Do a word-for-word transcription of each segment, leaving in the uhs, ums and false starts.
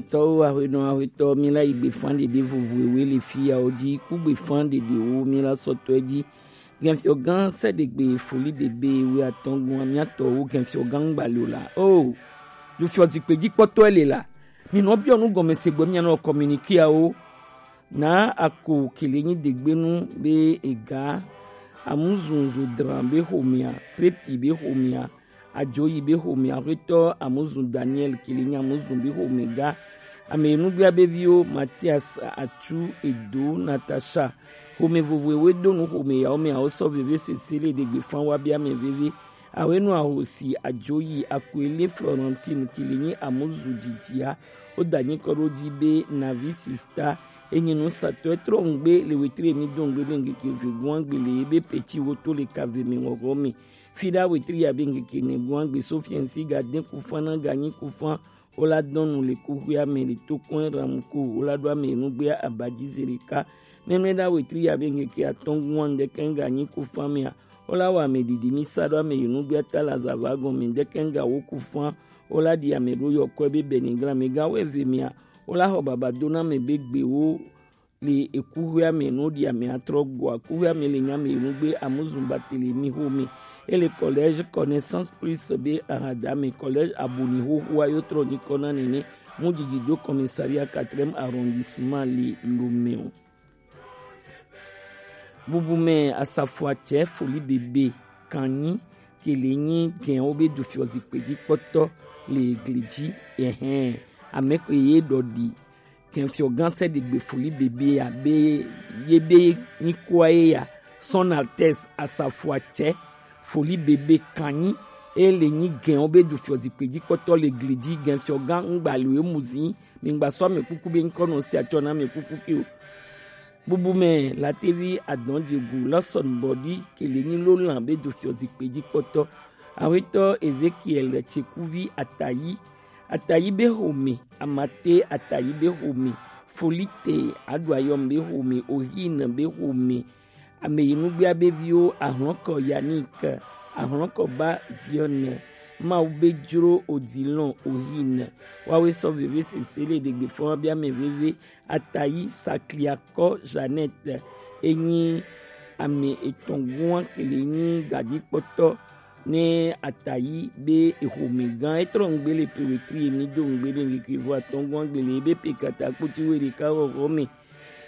Tɔwo, ahuenɔ ahuetɔ, mi la yi gbefa ɖeɖe vovo ewe le fi yawo ji, ku gbefa ɖeɖewo mi la sɔtɔ ji. Gɛnfiɔgan sɛɖegbe foli bebe we atɔgun amiatɔwo gɛnfiɔgan gbalio la. O, dufiɔ zikpe ji kpɔtɔ le la. Mi nɔ biɔ nu gɔme se gbɔ mi nɔ communiquer awo. Na ako kele nyi degbenu be ega, amuzunzu dran be homea, krepi be homea, ajoyi be homea, ahuetɔ amuzun Daniel kele nyi amuzun be home ga. Ame enugbea be viwo, Matias, Atsu, Edo, Natasha, home vovo ewe do nu home yawo me awo sɔ veve sese le ɖegbe fan wa be ame veve. Awe nu ahosi ajoyi akoele Florentine kele nyi amuzu jijia. O da nyi kɔ ɖo ji be navi sista. Enyi nu satɔ etrɔ ŋgbe le wetri emi do ŋgbe be ŋgeke ve guan gbe le ebe peti wo to le kave mi ŋɔgɔ mi. Fi ɖa wetri ya be ŋgeke ne guan gbe so fiɛnsi ga den kufan na ga nyi kufan. O la dɔn nu le kuxuia me le to kɔn ram ko. O la ɖo ame enugbea abaji zereka. Mɛmɛ ɖa wetri ya be ŋgeke atɔn guan ŋdɛkɛ ŋga nyi kufan mea. O la wa ame ɖiɖi mi sa ɖo ame enugbea ta la zava gɔn me ŋdɛkɛ ŋga wo kufan. O la ɖi ame ɖo yɔkɔe be bɛnigla me ga wɛ ve mea. O la xɔ baba do na ame be gbewo le ekuxuia me no ɖi ame atrɔ gɔa. Kuxuia me le nya me enugbe amuzun batele mi xo me. Ele collège Connaissance Plus be ahada me collège aboni xoxoa yo trɔ nyikɔ na nene. Mu didi do commissariat quatrième arrondissement le Lomé o. Bubu me asafoatsɛ foli bebe kanyi kele nyi gɛn wo be dufiɔ zikpe ji kpɔtɔ le gli ji. Ɛhɛn, ame ko ye ɖɔ ɖi. Kɛnfiɔ gan sɛ ɖegbe foli bebe abe ye be nyikoa ye ya. Son Altesse asafoatsɛ foli bebe kanyi e le nyi gɛn wo be dufiɔ zikpe ji kpɔtɔ le gli ji. Gɛnfiɔ gan ŋgba le mu zi. Mi ŋgba sɔ ame kuku be ŋkɔ nɔ si atsɔ na ame kuku ke o. Bubu me la tevi adɔn jegu lɔsɔn bɔdi kele nyi lo lan be dufiɔ zikpe ji kpɔtɔ. Awetɔ Ezekiel Tsekuvi Atayi. Atayi be home, Amate Atayi be home, Folite Aɖuayɔm be home, Ohin be home, ame yi nugbea be viwo, Ahlɔnkɔ Yannick, Ahlɔnkɔ ba Zion, Mawu be jro Odilon Ohin, wawe sɔ veve sese le ɖegbe fɔn wa be ame veve, Atayi Sakliakɔ Jeannette, enyi ame etɔn gua kele nyi gajikpɔtɔ ne Atayi be ehome gan etrɔ ŋgbe le pe wetri emi do ŋgbe be ŋgeke vo atɔn gua gbele be pe kata kpoti we ɖeka xɔxɔ me.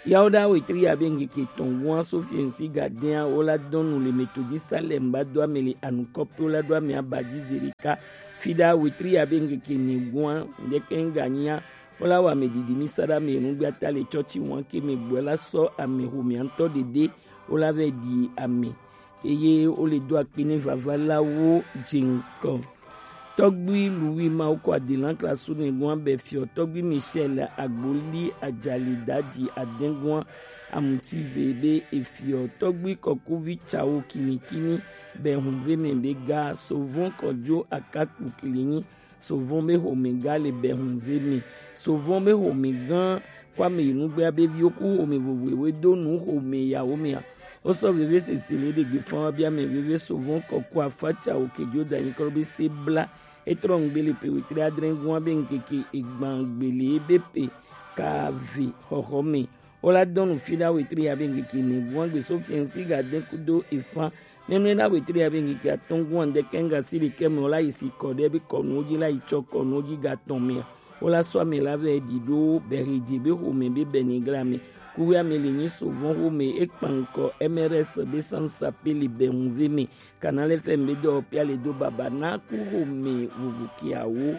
Yawo ɖa wetri ya be ŋgeke etɔn gua so fiɛnsi gadea wo la dɔn nu le Methodist Salem ba do ame le anukɔpe wo la ɖo ame abaji ze ɖeka. Fi ɖa wetri ya be ŋgeke ne gua ŋdeke ŋga nyia. Wo la wa ame ɖiɖi mi sa ɖa ame enugbe ata le tsɔtsi wan ke me gbɔ la sɔ ame homea ŋutɔ ɖeɖe wo la vɛ ɖi ame. Eye wo le do akpe ne vava la wo dze ŋkɔ. Tɔgbui Louis Mawu kɔ adelan klasu ne gua bɛ fiɔ tɔgbui Michel Agboli Ajali Daji Adengua Amutive be efiɔ tɔgbui kɔkuvi Tsawo Kinikini bɛ hunve me be ga sovon kɔjo akakpu kilinyi. Sovon be home ga le bɛ hunve me. Sovon be home gan kɔ ame yi nugbea be viwo ku home vovo ewe do nu home yawo mea. Wo sɔ veve sese le ɖegbe fɔn wa be ame veve sovon kɔku afa Tsawo kejo danyi kɔ be se bla. Etrɔ ŋgbe le pe wetri adre gua be ŋkeke egban gbele be pe ka ve xɔxɔ me. Wo la dɔn nu fi ɖa wetri ya be ŋkeke ne gua gbe so fiɛnsi ga de kudo efa. Nenu ɖa wetri ya be ŋkeke atɔn gua ŋdeke ŋga si ɖekɛ me wo la yi si kɔ ɖe be kɔnuwo ji la yi tsɔ kɔnuwo ji ga tɔn mea. Wo la sɔ ame la vɛ ɖi ɖo bɛ he dze be home be bɛ ni gla me. Kuwe ame le nyi sovɔn home ekpan ŋkɔ M R S be sansa pe le bɛ hunve me. Canal F M be dɔ pia le do baba na ku home vovo kiawo.